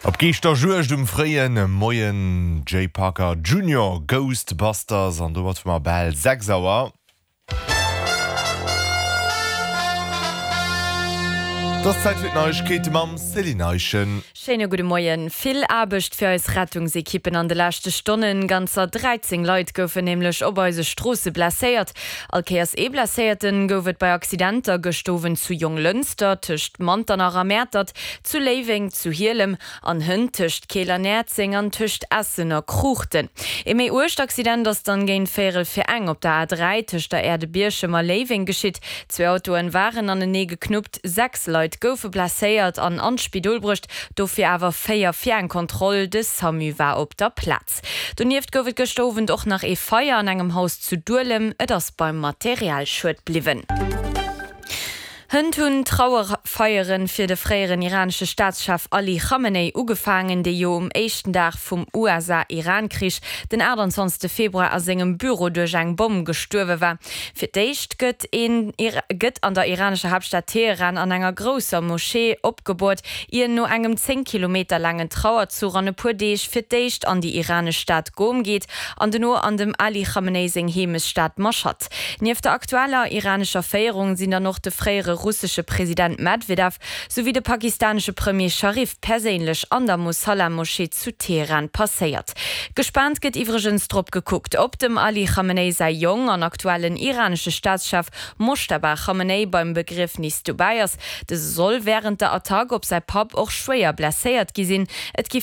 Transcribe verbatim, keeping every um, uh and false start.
Op Geeschterjuegd um fréie Moien Jay Parker Junior Ghostbusters an domat hu mer bal sechs Auer. Et ass Zäit fir d'Neiegkeete mam Céline Eischen. Schéine gudde Moien. Vill Aarbecht fir eis Rettungsekippen an de leschte Stonnen. Ganzer dräizéng Leit goufen nämlech op eise Stroosse blesséiert. All Kéiers ee Blesséierten gouf et bei Accidenter gëscht Owend zu Jonglënster, tëscht Manternach a Mäertert, zu Léiweng, zu Hielem an hënt tëscht Keel an Näerzeng an tëscht Essen a Kruuchten. Ee méi uergt Accident ass dann géint véierel vir eng op der A dräi tëscht der Aire de Bierchem a Léiweng geschitt. Zwee Autoen waren anenee geknuppt, sechs Leit goufe blesséiert an an d'Spidol bruecht, dofir awer véier fir eng Kontroll, de Samu war op der Plaz. Donieft gouf et gëschter Owend och nach ee Feier an engem Haus zu Duelem, et ass beim Materialschued bliwwen. Hënt hunn d'Trauerfeiere fir de fréieren iranesche Staatschef Ali Khamenei ugefaangen, dee jo um éischten Dag vum U S A-Iran-Krich, den achttanzwanzegste Februar, a sengem Büro duerch eng Bomm gestuerwe war. Fir d'éischt gëtt een gëtt an der iranescher Haaptstad Teheran an enger grousser Moschee opgeboort, ier no engem zéng Kilometer laangen Trauerzuch an e puer Deeg fir d'éischt an déi iranesch Stad Qom geet an dono an dem Ali Khamenei seng Heemechtsstad Mashhad. Nieft der aktueller iranescher Féierung sinn dann och de fréiere russesche President Medwedew souwéi de pakistanesche Premier Sharif perséinlech an der Mosalla-Moschee zu Teheran passéiert. Gespaant gëtt iwwregens drop gekuckt, ob dem Ali Khamenei säi Jong an aktuellen iranesche Staatschef Moschtaba Khamenei beim Begriefnis dobäi ass. Dëse soll wärend der Attack op säi Papp och schwéier blesséiert gi sinn. Et gi